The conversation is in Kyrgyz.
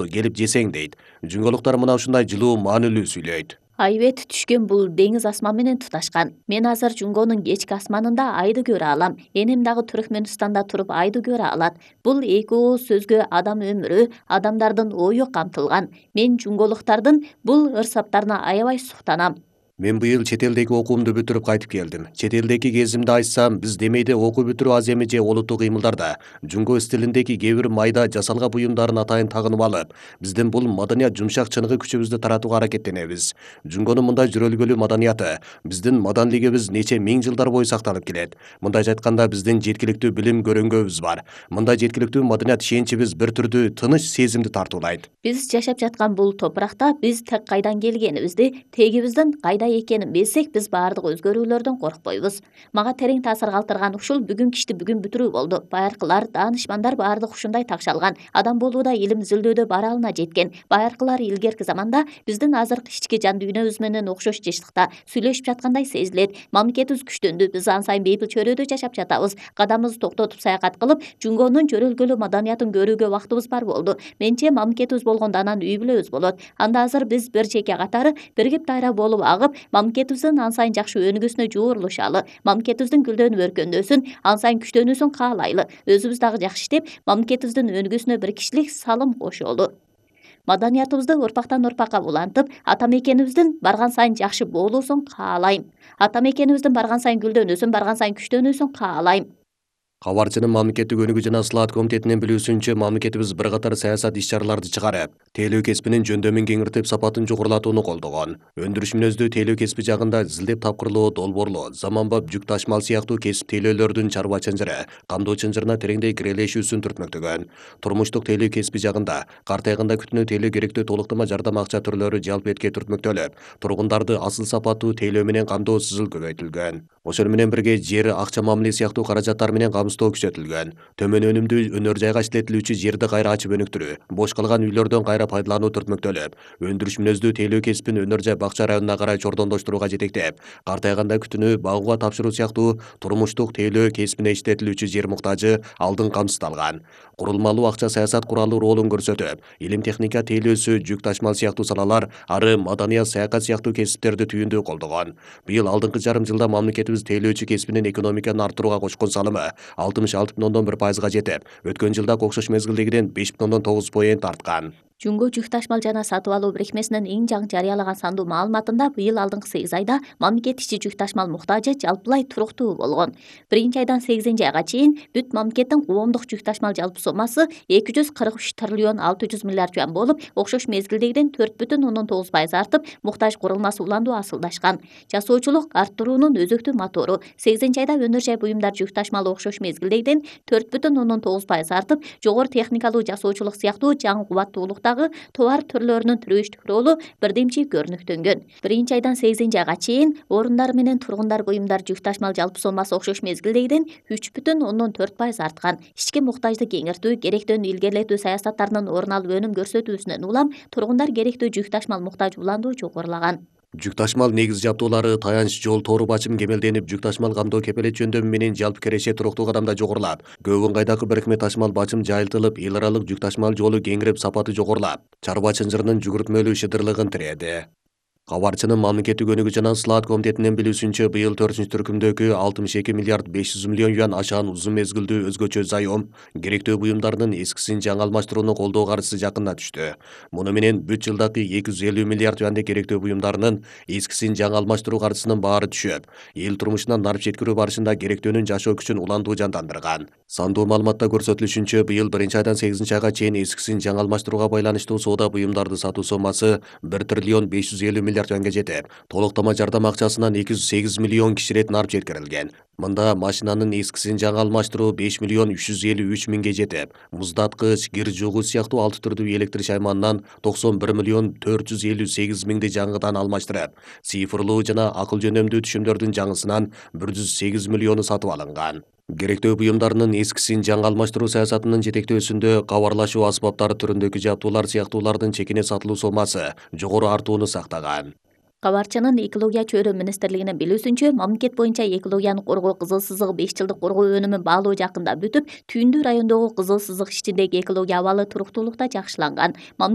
келип жесең дейт. Жүнгөлуктар мына ушундай жылуу маанилүү сүйлөйт. Айбет түшкөн бул деңиз асман менен туташкан. Мен азыр Жунгонун кечки асманында айды көрө алам. Энем дагы Түркмөнстанда туруп айды көрө алат. Бул эки ооз сөзгө адам өмүрү, адамдардын ою камтылган. Мен жунголуктардын бул ырсаптарына аябай суктанам. Мен быйыл чет элдеги окуумду бүтүрүп кайтып келдим. Чет элдеги кезимди айтсам, биз демейде окуу бүтүрүү аз эми же олуттуу кыймылдарда жунго стилиндеги кээ бир майда жасалга буюмдарын атайын тагынып алып, биздин бул маданият жумшак чыныгы күчүбүздү таратууга аракеттенебиз. Жунгонун мындай жүрөлгөлүү маданияты биздин маданилигибиз нече миң жылдар бою сакталып келет. Мындайча айтканда биздин жеткиликтүү билим көрөңгөбүз бар. Мындай жеткиликтүү маданият ишеничибиз бир түрдүү тыныч сезимди тартуулайт. Биз жашап жаткан бул топуракта биз так кайдан келгенибизди, тегибиздин кайда экенин билсек, биз баардык өзгөрүүлөрдөн коркпойбуз. Мага терең таасир калтырган ушул бүгүн кишти бүгүн бүтүрүү болду. Байыркылар, даанышмандар баардык ушундай такшалган. Адам болууда, илим изилдөөдө баралына жеткен. Байыркылар илгерки заманда биздин азыркы ички жан дүйнөбүз менен окшош жыштыкта сүйлөшүп жаткандай сезилет. Мамлекетибиз күчтөндү. Биз ан сайын бейпил чөйрөдө жашап жатабыз. Кадамыбызды токтотуп саякат кылып, Жунгонун жөрөлгөлүү маданиятын көрүүгө убактыбыз бар болду. Менче мамлекетибиз болгондо анан үй бүлөбүз болот. Анда азыр биз бир чеке катары биригип дайра болуп агып, мамлекетибиздин ан сайын жакшы өнүгүүсүнө жуурулушалы, мамлекетибиздин гүлдөнүп өркөндөсүн, ан сайын күчтөнүүсүн каалайлы. Өзүбүз дагы жакшы иштеп, мамлекетибиздин өнүгүүсүнө бир кишилик салым кошолу. Маданиятыбызды орпактан орпакка улантып, ата мекенибиздин барган сайын жакшы болуусун каалайм. Ата мекенибиздин барган сайын гүлдөнүүсүн, барган сайын күчтөнүүсүн каалайм. Кабарчынын мамлекеттик өнүгүү жана ыслаат комитетинин билүүсүнчө, мамлекетибиз бир катар саясат иш-чараларды чыгарып, тейлөө кесибинин жөндөмүн кеңиртип, сапатын жогорулатууну колдогон. Өндүрүш мүнөздүү тейлөө кесиби жагында зилдеп тапкырлоо, долбоорлоо, заманбап жүк ташмал сыяктуу кесип тейлөөлөрдүн чарба чынжыры, кандоо чынжырына тереңдей кирелешүүсүн түртмөктөгөн. Турмуштук тейлөө кесиби жагында картайганда күтүүнү тейлөө керектүү толуктама жардам акча түрлөрү жалпы этке түртмөктөлүп, тургундарды асыл сапаттуу тейлөө менен камдоо сызыл көбөйтүлгөн. Ошону менен бирге жер, акча мамиле сыяктуу каражаттар менен камсыздоо күчөтүлгөн. Төмөн өнүмдүү өнөр жайга иштетилүүчү жерди кайра ачып өнүктүрүү, бош калган үйлөрдөн кайра пайдалануу түртмөктөлүп, өндүрүш мүнөздүү тейлөө кесибин өнөр жай бакча районуна карай чордондоштурууга жетектеп, картайганда күтүүнү багууга тапшыруу сыяктуу турмуштук тейлөө кесибине иштетилүүчү жер муктажы алдын камсыздалган. Курулмалуу акча саясат куралы ролун көрсөтүп, илим техника тейлөөсү, жүк ташмал сыяктуу салалар, ары маданият, саякат сыяктуу кесиптерди түйүндүү колдогон. Быйыл алдыңкы жарым жылда мамлекетибиз тейлөөчү кесибинин экономиканы арттырууга кочкон салымы 66,1% жетип, өткөн жылдак окшош мезгилдегиден 5,9% арткан. Жунго жүк ташмал жана сатып алуу бирикмесинин эң жаңы жарыялаган сандуу маалыматында быйыл алдыңкы 8 айда мамлекет ичи жүк ташмал муктажы жалпылай туруктуу болгон. 1-айдан 8-айга чейин бүт мамлекеттин коомдук жүк ташмал жалпы сомасы 243 триллион 600 миллиард юан болуп, окшош мезгилдегиден 4,9% артып, муктаж курулмасы уландуу асылдашкан. Жасоочулук арттыруунун өзөктүү мотору. 8-айда өнөр жай буюмдар жүк ташмалы окшош мезгилдегиден 4,9% артып, жогору техникалуу жасоочулук сыяктуу жаңы кубаттуулук товар түрлөрүнүн тирүүчтүк ролу бирдемчи көрүнүктөнгөн. 1-айдан 8-айга чейин орундар менен тургундар буюмдар жүк ташмал жалпы сомасы окшош мезгилдегиден 3,4% арткан. Ички муктажды кеңиртүү, керектөөнү илгерилетүү саясаттарынын орун алып өнүм көрсөтүүсүнөн улам тургундар керектүү жүк ташмал муктаж уландуу жогорулаган. Жүк ташмал негиз жабдуулары, таянч жол, тоору бачым кемелденип, жүк ташмал камдоо кепелет жөндөмү менен жалпы киреше туруктуу кадамда жогорулап, көп ыңгайдагы бирикме ташмал бачым жайылтылып, эл аралык жүк ташмал жолу кеңирип, сапаты жогорулап, чарба чынжырынын жүгүртмөлүү шыдырлыгын тиреді. Кабарчынын мамлекеттик өнүгүү жана ыслаат комитетинин билүүсүнчө, быйыл 4-түркүмдөгү 62 миллиард 500 миллион юан ашаан узун мезгилдүү өзгөчө зайом керектөө буюмдардын эскисин жаңы алмаштырууну колдоо каржысы жакына түштү. Муну менен бүт жылдагы 250 миллиард юандык керектөө буюмдарынын эскисин жаңы алмаштыруу каржысынын баары түшүп, эл турмушуна нарп жеткирүү барышында керектөөнүн жашоо күчүн уландуу жандандырган. Сандуу маалыматта көрсөтүлүшүнчө, быйыл 1-айдан 8-айга чейин эскисин жаңы алмаштырууга байланыштуу соода буюмдарды сатуу сомасы 1 триллион 550 миллиард юанга жетип, толуктама жардам акчасынан 208 миллион киши ирет нарп жеткирилген. Мында машинанын эскисин жаңы алмаштыруу 5 миллион 353 миңге жетип, муздаткыч, кир жуугуч сыяктуу 6 түрдүү электр шайманынан 91 миллион 458 миңди жаңыдан алмаштырып, цифрлуу жана акыл жөнөмдүү түшүмдөрдүн жаңысынан 108 миллиону сатып алынган. Керектөө буюмдарынын эскисин жаңы алмаштыруу саясатынын жетектөөсүндө кабарлашуу аспаптары түрүндөгү жабдуулар сыяктуулардын чекине сатылуу сомасы жогору артууну сактаган. Кабарчынын экология чөйрө министрлигинин билүүсүнчө, мамлекет боюнча экологияны коргоо кызыл сызыгы 5 жылдык коргоо өнүмүн баалоо жакында бүтүп, Түйүндүү райондогу кызыл сызык иштиндеги экология абалы туруктуулукта жакшыланган.